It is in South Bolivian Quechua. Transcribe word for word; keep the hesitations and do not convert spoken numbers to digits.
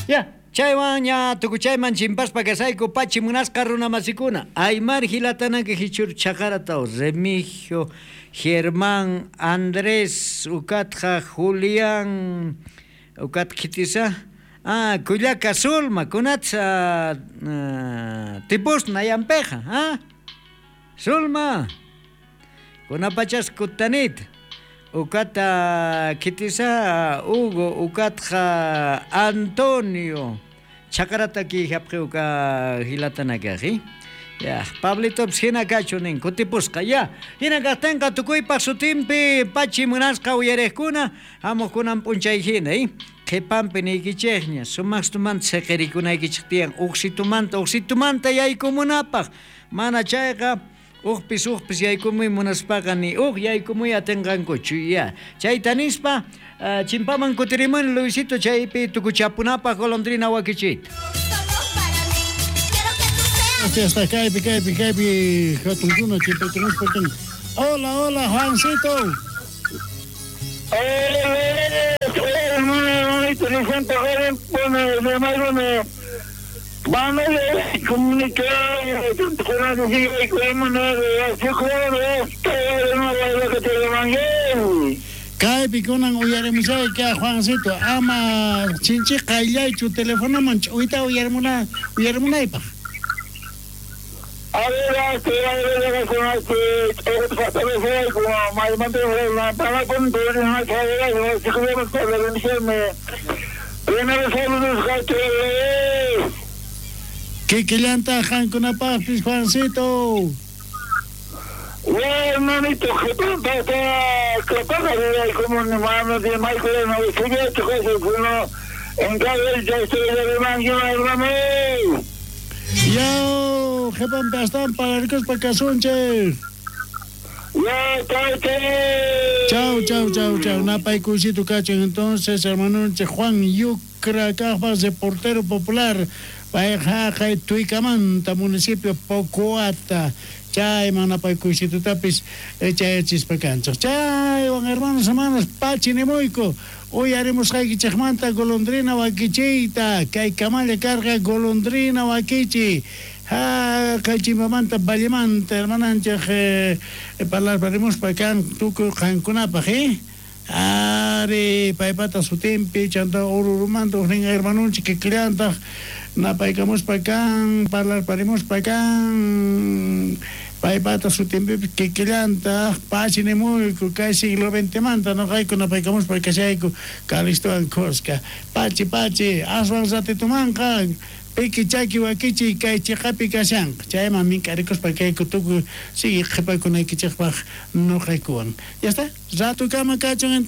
Ya, chaywan ña tukuchayman chimpaspa kasayku pachi munasqa runa masikuna. Aymar hilatanaka hichur chaqarataw Remigio, Germán, Andrés, ukatqa Julián, ukat kitisa. Ah, Kullaka Sulma, kunatsa uh, tipus nayampeja, ah? Sulma, kunapachas kutanit. Ukata kitisa Hugo, ukatqa Antonio. Chakarata ki hapqi uka hilatanakaji. Ya, Pablito hina kachu nin kutipusqa ya. Hina kaqtinqa tukuypaq sutinpi pachi munasqa uyariqkuna hamuqkunan p'unchay hina, eh? Qhipanpi niykichikña sumaqtumanta siqirikunaykichik tiyan uqsitumanta uqsitumanta yaykumunapaq mana chayqa uqpis uqpis yaykumuy munaspaqa ni uq yaykumuy atinqankuchu ya. Chayta nispa uh, chimpaman kutirimun Luisito chaypi tukuchapunapaq golondrina wakichita. Hasta kaypi kaypi kaypi hatunkuna chimpaykumuspa kan. Hola, hola, Juancito. Kaypi kunan uyarimushayka Juancito ama chinchi qayllaychu telefonoman ch'uyta uyarimuna uyarimunaypaq. A ver, a ver, a ver, a ver, Kikillanta qankunapaqpis Juancito. Hermanito, Yo, qhipanpi astawan pararikuspa kasunchik. Chau, chau, chau, chau. Napaykuysito kachin entonces, hermanonchik Juan Yucra kaqpas reportero popular. Payqa Tuicamanta, municipio Pocoata. Chayman napaykuysitutapis chayachispa kanchik. Chaywan hermanos, hermanas, pachi nimuyku. Uyarimusqaykichikmanta golondrina wakichiyta. Kay kamalla karqa golondrina wakichi. Ha, kay chimpamanta vallemanta hermananchik eh, parlarparimuspa kan tukuy qankunapaq, eh? Ari, paypata sutinpi, chanta ururumanta uqnin hermanunchik kikillantaq napaykamuspa kan, parlarparimuspa kan, paypata sutinpi kikillantaq pachi nimuyku kay siglo veintemanta noqayku napaykamuspa kashayku Calistowan kuska. Pachi, pachi, aswan ratitumanqa piki chaki wakichi kay chiqapi kashanqa. Chayman mink'arikuspa kayku tukuy sigue qhipakunaykichikpaq noqaykuwan. Ya está, ratukama kachun.